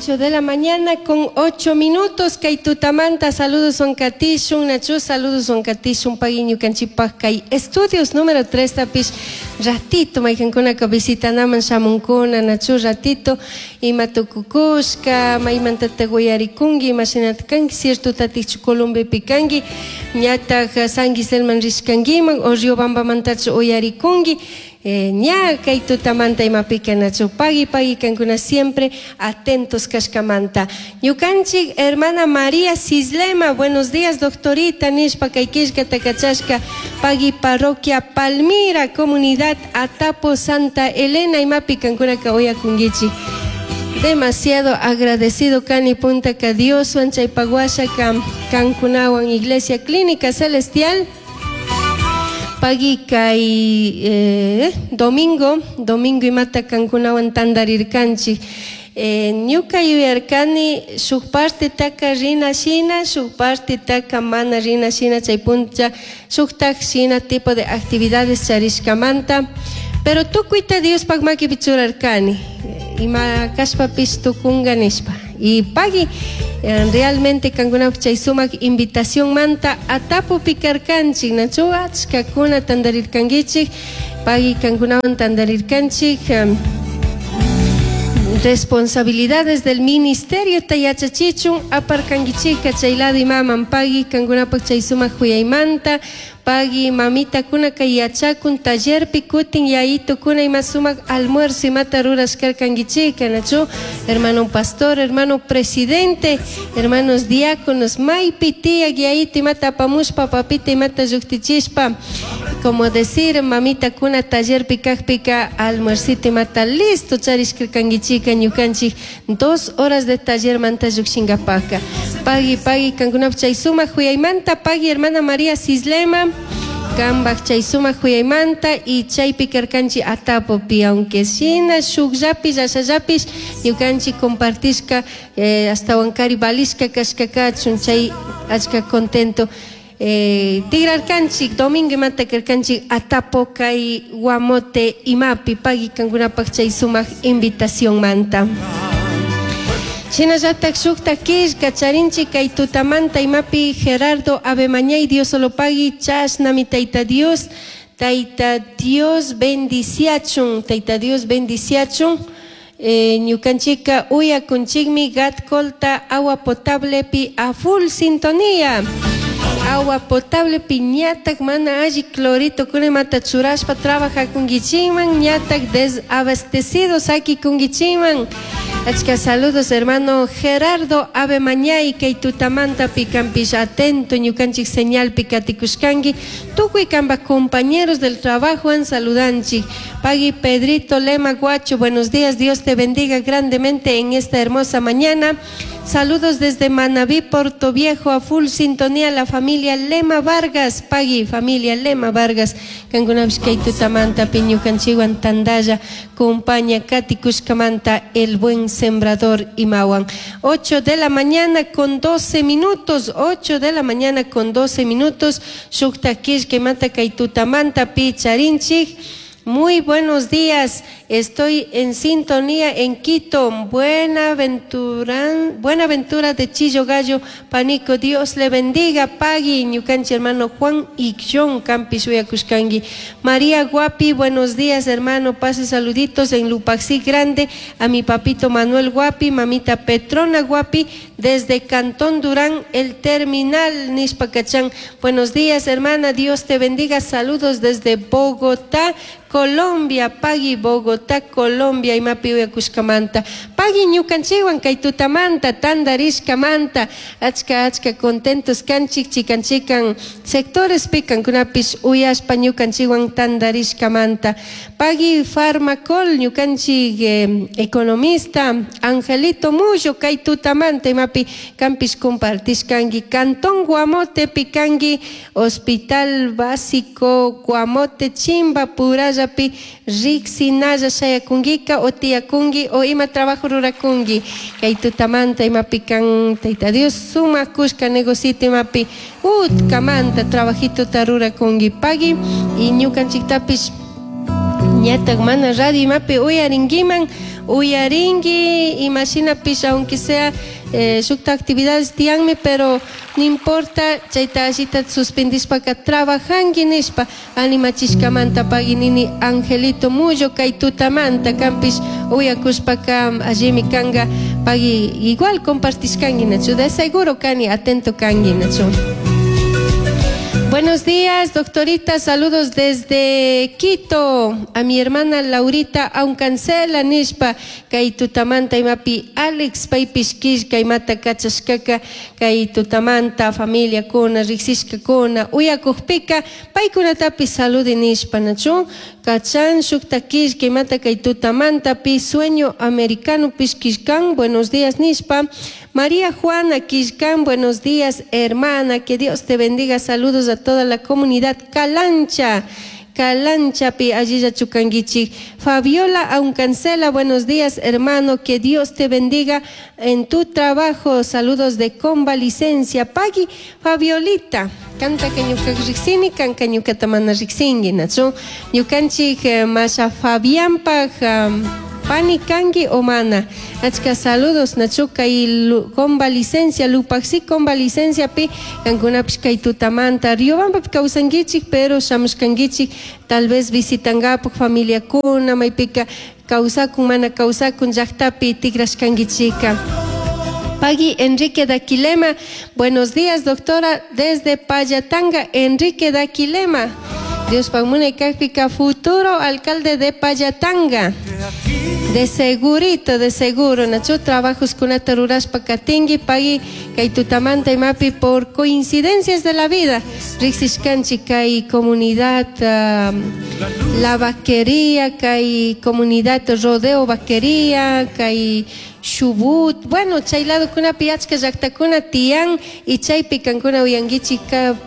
8 de la mañana con 8 minutos. Kay tutamanta saludos katishun, nachu saludos katishun pagui ñukanchikpak kay estudios número 3 tapish ratito maykankunaka visitanaman shamunkuna nachu ratito ima tukukushka maymantatak uyarikunki imashinata kanki ciertotatikchu Colombiapi kanki ñatak San Giselman rishkankiman o Riobambamantachu uyarikunki. Ña kay tutamanta imapika nachu pagui pagui kankuna siempre atentos kashkamanta. Ñukanchik hermana María Cislema, buenos días doctorita nishpa kay killkata kachashka pagui parroquia Palmira, comunidad Atapo Santa Elena imapi kankunaka uyakunkichik. Demasiado agradecido kani puntaka Dioswan chaypak washaka kankunawan Iglesia Clínica Celestial. Pagui kay domingo, domingo imata kankunawan tandarirkanchik. Ñuka yuyarkani shuk partetaka rina shina, shuk partetaka mana rina shina chay puncha shuktak shina tipo de actividades charishkamanta. Pero tukuyta Diospak makipi churarkani. Ima kashpapish tukunga nishpa. Y pagui realmente kankunapak chay sumak invitación manta Atapupi karkanchik, nachu achkakuna tandarirkankichik, pagui kankunawan tandarirkanchik. Responsabilidades del ministerio ta yachachichun aparkankichika chay lado imaman pagui kankunapak chay sumak huyaymanta pagui mamitakuna kay yachakun tallerpi kutin yayitukuna ima sumak almuerzo imata rurashkarkankichika nachu hermano pastor, hermano presidente, hermanos diáconos maypi tiyak yayitu imata apamushpa papita imata lluktichishpa como decir mamitakuna tallerpi kakpika almuercito imata listo charishkarkankichika ñukanchik 2 horas de tallermanta llukshinkapaka. Pagui pagui kankunapak chay sumak huyaymanta pagui hermana María Cislema kanpak chay sumak huyaymanta y chaypi karkanchik Atapopi aunque shina shukllapish ashallapish ñukanchik compartishka ashtawankari valishka kashka kachun chay achka contento. Tigrarkanchik domingo imata karkanchik Atapo kay Guamote imapi pagui kankunapak chay sumak invitación manta. Shinallatak shukta killka charinchik kay tutamanta imapi Gerardo Abemañay Dios solo pagui chashnami Tayta Dios, Tayta Dios bendiciachun, Tayta Dios bendiciachun. Ñukanchika uyakunchikmi Gatcolta agua potable pi a full sintonía. Agua potable pi ñatak mana alli clorito kunamata churashpa trabajakunkichikman ñatak desabastecidos sakikunkichikman. Achka saludos hermano Gerardo Abemañay kay tutamanta pikampish atento ñukanchik señal pikatikushkanki tukuy kanpak compañeros del trabajo an saludanchik. Pagui Pedrito Lema Guacho, buenos días, Dios te bendiga grandemente en esta hermosa mañana. Saludos desde Manabí, Puerto Viejo, a full sintonía la familia Lema Vargas, pagui familia Lema Vargas, kankunapish kay tutamanta piñukanchikwan tandalla, compañía Katy Kushkamanta, el buen sembrador imawan. 8 de la mañana con 12 minutos, 8 de la mañana con 12 minutos, shukta killka kay tutamanta pi charinchik. Muy buenos días, estoy en sintonía en Quito, Buenaventura de Chillo Gallo, Panico, Dios le bendiga, pagui, ñukanchi hermano Juan Icción, Campi Suyacushkangi. María Guapi, buenos días hermano, pase saluditos en Lupaxí Grande, a mi papito Manuel Guapi, mamita Petrona Guapi, desde Cantón Durán, el terminal Nishpacachán. Buenos días hermana, Dios te bendiga, saludos desde Bogotá, Colombia, pagui Bogotá, Colombia, imapi uyakushkamanta. Pagui ñukanchikwan kay tutamanta, tandarishkamanta, achka achka contentos kanchik, chikan chikan sectores pikankunapish uyashpa ñukanchikwan tandarishkamanta. Pagui Farmacol, ñukanchik economista, Angelito Mullo, kay tutamanta, imapi kampish compartishkanki, Cantón Guamote, pikanki, Hospital Básico Guamote, Chimba, Puraya, pi riksinalla shayakungika o tiyakunki o ima trabajo rurakunki kay tutamanta imapi kan Tayta Dios sumak kushka negocito imapi utkamanta trabajito rurakunki pagui y ñukanchiktapish ñatak mana radio imapi uyarinkiman. Uyarinki imashinapish aunque sea shukta actividades tiyanmi, pero no importa, chayta allita suspendishpaka trabajanki nishpa animachishkamanta pagui nini Angelito Mullo kay tutamanta kanpish uyakushpaka allimi kanga pagui igual compartishkanki nachu de seguro kani atento kanki nachu. Buenos días, doctorita. Saludos desde Quito. A mi hermana Laurita Aucancela nishpa kay tutamanta imapi Alex paypish killka imata kachashkaka kay tutamanta familiakuna riksishkakuna uyakukpika paykunatapish saludi nishpa nachu kachan shukta killka imata kay tutamantapi sueño americanopish killkan buenos días nishpa. María Juana Quillcán, buenos días, hermana, que Dios te bendiga. Saludos a toda la comunidad Calancha. Calanchapi, allilla chukanguichi. Fabiola Aucancela, buenos días, hermano, que Dios te bendiga en tu trabajo. Saludos de convalicencia. Pagui, Fabiolita, canta que ñuka riksini, kanka ñukata mana riksinki, nachu. Ñukanchik masha Fabianpaj pani kanki o mana. Achka saludos nachu kay convalicencia, lupaxi convalicencia pi kankunapish kay tutamanta Riobambapi kawsankichik, pero shamushkankichik tal vez visitangapuk familiakuna maypika kawsakun mana kawsakun llaktapi tikrashkankichika. Pagui Enrique Daquilema, buenos días doctora, desde Payatanga, Enrique Daquilema. Dios munay kajpika futuro alcalde de Payatanga. De segurito, de seguro, nachu trabajos kunata rurashpa katinki, pagui kay tutamanta imapi por coincidencias de la vida. Riksishkanchik kay comunidad La Vaquería, kay comunidad Rodeo Vaquería, kay Chubut, bueno, chay ladokunapi achka llaqtakuna tiyan y chaypi kankuna uyankichik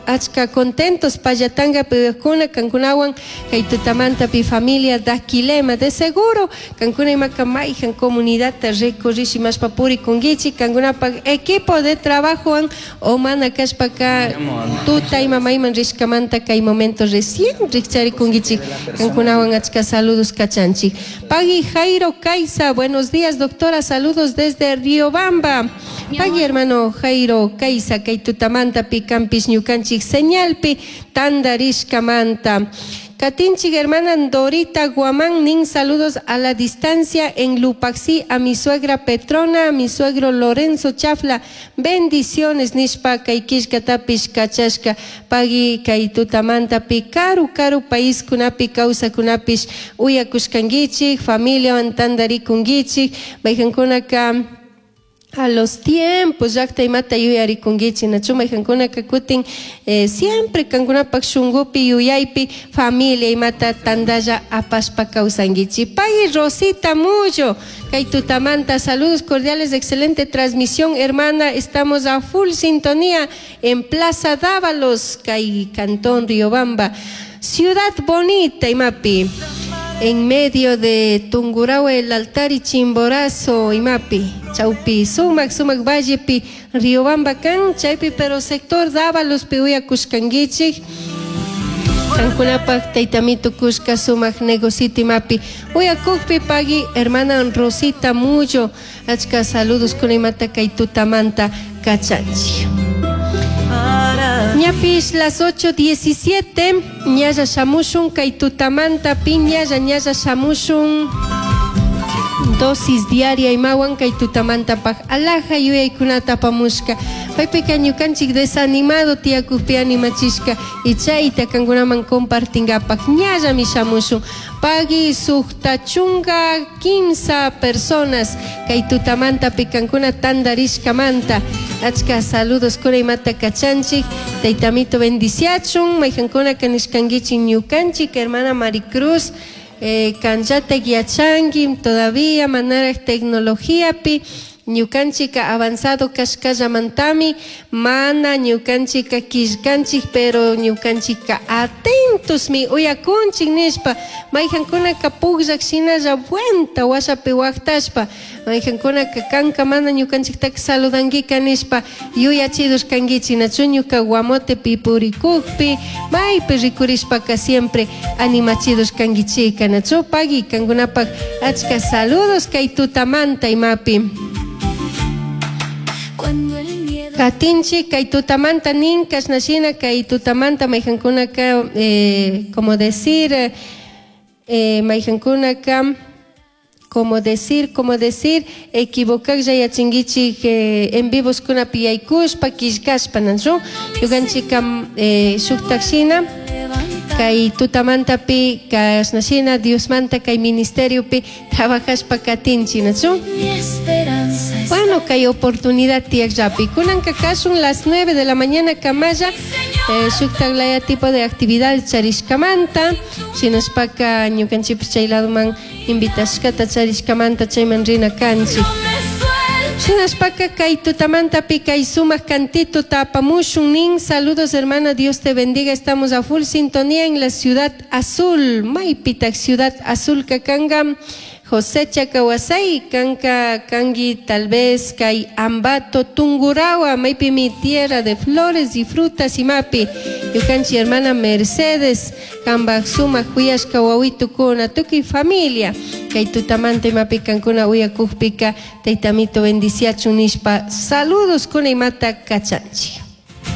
achka contentos Payatanga uyakuna kankunawan kay tutamantapi familia Daquilema, de seguro kankuna imaka mayjan comunidadta recorrish imashpa purikunkichik kankunapaq equipo de trabajowan o mana kashpaka tuta ima mayman rishkamanta kay momento recién rikcharikunkichik kankunawan achka saludos kachanchik. Pagui Jairo Caiza, buenos días doctora, saludos desde Riobamba. Pagui hermano Jairo Caiza, kay tutamantapi kanpish ñukanchik señalpi tandarishkamanta. Katinchik hermana Dorita Guamán nin saludos a la distancia en Lupaxi a mi suegra Petrona, a mi suegro Lorenzo Chafla. Bendiciones nishpa kay killkatapish kachashka pagui kay tutamantapi karu karu país kunapi kawsakunapish uyakushkankichik familiawan tandarikunkichik mayjankunaka a los tiempos llaqta imata yuyarikunkichik nachu mayjankunaka kutin siempre kankunapak shunkupi yuyaypi familia imata tandalla apashpa kawsankichik. Pagui Rosita Mullo, kay tutamanta saludos cordiales, excelente transmisión hermana, estamos a full sintonía en Plaza Dávalos, kay Cantón Riobamba, Ciudad Bonita imapi. En medio de Tungurahua, el altar y Chimborazo, imapi, chaupi, sumac, sumac, vallepi, Riobamba kan, chaypi, pero sector Dávalos, piuya kushkankichik. Kankunapak taytamito kushka sumac negocito imapi. Uyakukpi pagui hermana Rosita Mullo, achka saludos kunimata kay tutamanta kachanchik. Ñapish las 8:17, ñalla shamushun kay tutamanta pi ñalla ñalla shamushun dosis diaria imawan kay tutamanta paj alaja yuyaykunata apamushka. Paypika ñukanchik desanimado tiyakukpi animachishka y chayta kankunaman compartingapak ñallami shamushun. Pagui sukta chunga quince personas kay tutamanta pi kankuna tandarishkamanta. Achka saludos kuna imata kachanchik, taytamito bendiciachun, mayjankuna kanishkankichik ñukanchik, hermana Maricruz, kanllata yachanki todavía manaraj tecnologiapi. Ñukanchika avanzado kashkallamantami mana ñukanchika killkanchik pero ñukanchika atentosmi uyakunchik nishpa mayjankunaka pukllak shinalla vuelta washapi waktashpa mayjankunaka kanka mana ñukanchiktaka saludankika nishpa yuyachidos kankichik nachu ñuka guamotepi purikukpi maypi rikurishpaka siempre animachidos kankichika nachu pagui kankunapak achka saludos kay tutamanta imapi. Cuando el miedo Katinchik kay tutamanta nin kashnashina kay tutamanta mayjankunaka como decir mayjankunaka como decir como decir equivocaklla yachinkichik en vivos kunapi yaykushpa killkashpa nachu ñukanchika shuktak shina levanta kay tutamantapi kashnashina Diosmanta kay ministeriopi trabajashpa katinchik nachu mi esperanza es Bueno, kay oportunidad tiyakllapi. Kunanka kashun las 9 de la mañana kamalla shuktak laya tipo de actividad charishkamanta shinashpaka ñukanchikpish chay ladoman invitashkata charishkamanta chayman rina kanchik. no me sueltes Shinashpaka kay tutamantapi kay sumak cantito tapamushun nin. Saludos hermana, Dios te bendiga. Estamos a full sintonía en la ciudad azul. Maypitak ciudad azul kakanga. José Chacawasay, kanka kangi tal vez kay Ambato Tungurahua, maypi mi tierra de flores y frutas y mapi. Ñukanchik hermana Mercedes, kambak sumak kuyashka wawitukuna, tukuy familia. Kay tutamanta imapi kankuna uyakukpika, taytamito bendiciachun nishpa, saludos kuna imata kachanchik.